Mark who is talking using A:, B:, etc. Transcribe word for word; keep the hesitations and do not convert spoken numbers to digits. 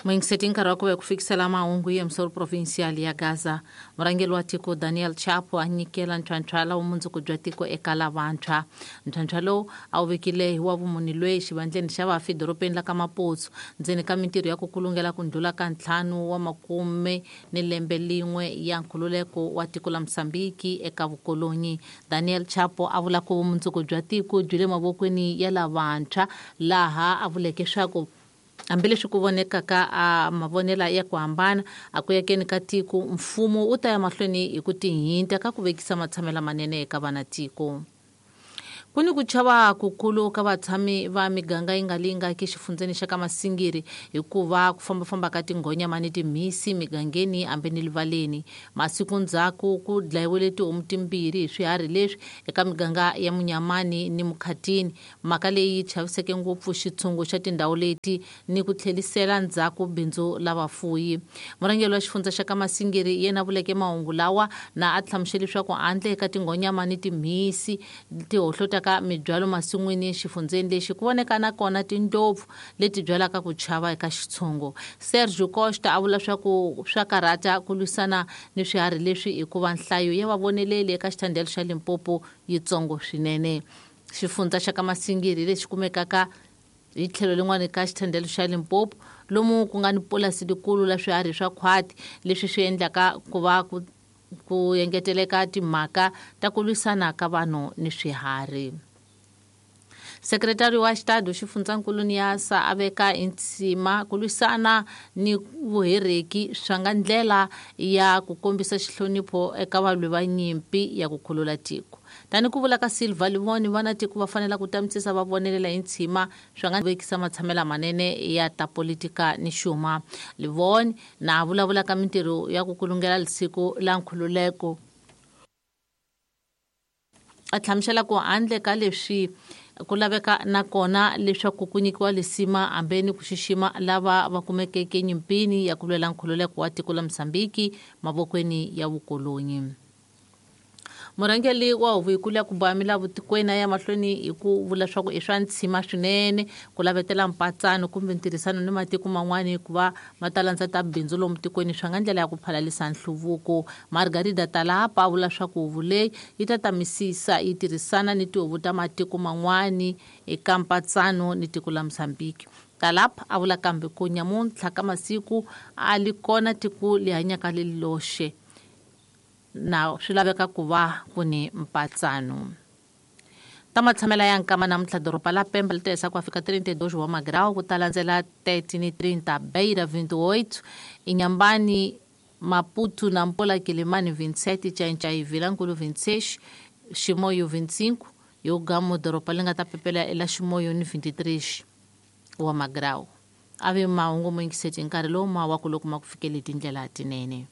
A: Muingiseti nkarhi wa ku ve ku fikisela mahungu hi emisoro provincial ya Gaza. Murhangeri wa tiko Daniel Chapo a nyikela ntlhantlha wa vumundzuku bya tiko eka lavantshwa. Ntlhantlha lowu a wu vekile hi wa vumuni lweyi xivandleni xa vafi dorobeni la ka Maputo ndzeni ka mintirho ya ku kulungela ku ndlhula ka ntlhanu wa makume ni lembe lin'we ya nkhululeko wa tiko la Mozambique eka vukolonyi. Daniel Chapo a vula ku vumundzuku bya tiko byi le mavokweni ya lavantshwa, laha a vuleke swa ku hambileswi ku vonekaka a mavonelo ya ku hambana a ku yakeni ka tiko, mfumo wu ta ya mahlweni hi ku tihinta ka ku vekisa matshamelo manene eka vana tiko. Ku ni ku chava kukulu ka vatshami va miganga yi nga lingaki xifundzeni xa ka Masingiri hikuva ku fambafamba ka tinghonyama ni timhisi migangeni hambi ni livaleni. Masiku ndzhaku ku dlayiwile tihomu timbirhi hi swiharhi leswi eka miganga ya Munyamani ni Mukhatini. Mhaka leyi yi chaviseke ngopfu xitshungu xa tindhawu leti ni ku tlhelisela ndzhaku bindzu la vafuyi. Murhangeri wa xifundza xa ka Masingiri yena vuleke mahungu lawa na a hlamusele leswaku handle ka tinghonyama ni timhisi ti hohlota ka mibyalo masin'wini xifundzeni lexi ku voneka na kona tindlopfu leti byalaka ku chava eka xitshungu. Sergio Costa a vula swa ku swa karhata ku lwisana ni swiharhi leswi hikuva nhlayo ya vavoneleli eka xithandelo xa Limpopo yitsongo swinene. Xifundza xa ka Masingiri lexi kumekaka hi tlhelo lin'wana ka xithandelo xa Limpopo lomu ku nga ni pulasi likulu la swiharhi swa khwati leswi swi endlaka ku va ku ku engeteleka timhaka ta ku lwisana ka vanhu ni swiharhi. Sekretari wa Xitado xifundzankulu Niasa a veka insima ku lwisana ni vuhereki swa nga ndlela ya ku kombisa xihlonipho eka valwi va nyimpi ya ku khulula tiko. Tani ku vula ka Silva Livoni, vana tiko va fanela ku tamisisa va vonelela hi ntshima swa nga vekisa matshamelo manene ya ta politika ni xuma. Livoni na vulavula ka mintirho ya ku kulungela lisiku la nkhululeko a hlamusela ku handle ka leswi ku laveka na kona leswaku ku nyikiwa lisima hambi ni ku xixima lava va kumekeke nyimpini ya ku lwela nkhululeko wa tiko la Mozambique mavokweni ya vukolonyi. Murhangeri wa huvo yikulu ya ku boha milawu tikweni a ya mahlweni hi ku vula swa ku i swa ntshima swinene ku lavetela mpatsano kumbe ntirhisano ni matiko man'wani hikuva ma ta landza ta bindzu lomu tikweni swa nga ndlela ya ku phalalisa nhluvuko. Margarida Talapa a vula swa ku huvo leyi yi ta tamisisa yi tirhisana ni tihuvo ta matiko man'wani eka mpatsano ni tiko la Mozambique. Talapa a vula kambe ku nyamuntlha ka masiku a li kona tiko li hanyaka li loxe na swi laveka ku va ku ni mpatsano. Ta matshamela ya nkama namuntlha doroba la Pemba li tirhisa ku fika trinta e dois wa magrau ku ta landzela thirteen e trinta, Beira vinte e oito, Inhambane, Maputo, Nampula, Quelimane vinte e sete, Xai-Xai, Vilankulo vinte e seis, Chimoio vinte e cinco, e o Gamo doroba li nga ta pepela ela Chimoio ni vinte e três wa magrau. A ve mahungu mo yingiseti nkarhi lowu ma wa ku loko ma ku fikele hi tindlela tinene.